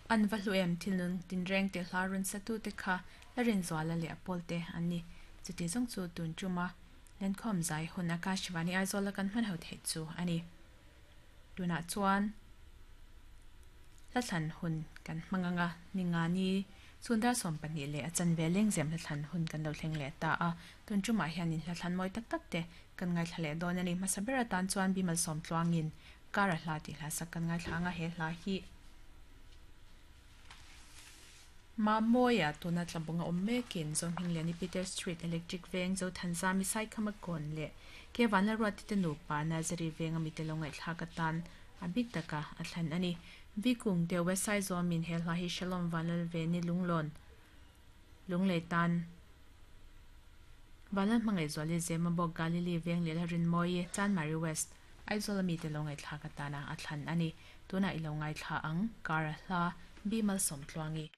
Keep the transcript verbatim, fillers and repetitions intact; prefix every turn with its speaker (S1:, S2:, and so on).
S1: An va hlu em thilnun tinreng te hla run satu te kha la rin zuala leh a pawl te an ni. Chuti zawng chu tun tuma lenkhawm zai hun Akashvani Aizawl a kan hman ho theih chu a ni. Tunah chuan hla thlan hun kan hmang anga ningani chhun dar sawm pahnih leh a chanve lengzem hla thlan hun kan lo thleng leh ta a. Tun tumah hianin hla thlan mawi tak tak te kan ngaithla leh dawn a ni. Hmasa ber atan chuan Bimal sawm tluangin kara hla tih hla sak kan ngaithla anga he hla hi Ma Mawia tuna tlabunga awm mekin Zohmingliani Peter Street Electric Veng Zothanzami Saikhama kawn leh ke Vanla Ruati te nupa Nazari Veng ami te lo ngaihthlak atan a bik taka a thlan a ni. Vikung te West Aizawl min he hla hi Shalom Vanlal Veni Lunglawn Lunglei tan Vanlal hmangaih zuali Zema bawk Galili Veng leh la Rinmawi Chanmari West Aizawl ami te lo ngaihthlak atana a thlan a ni. Tuna i lo ngaithla ang kara hla Bimal Sawmtluangi.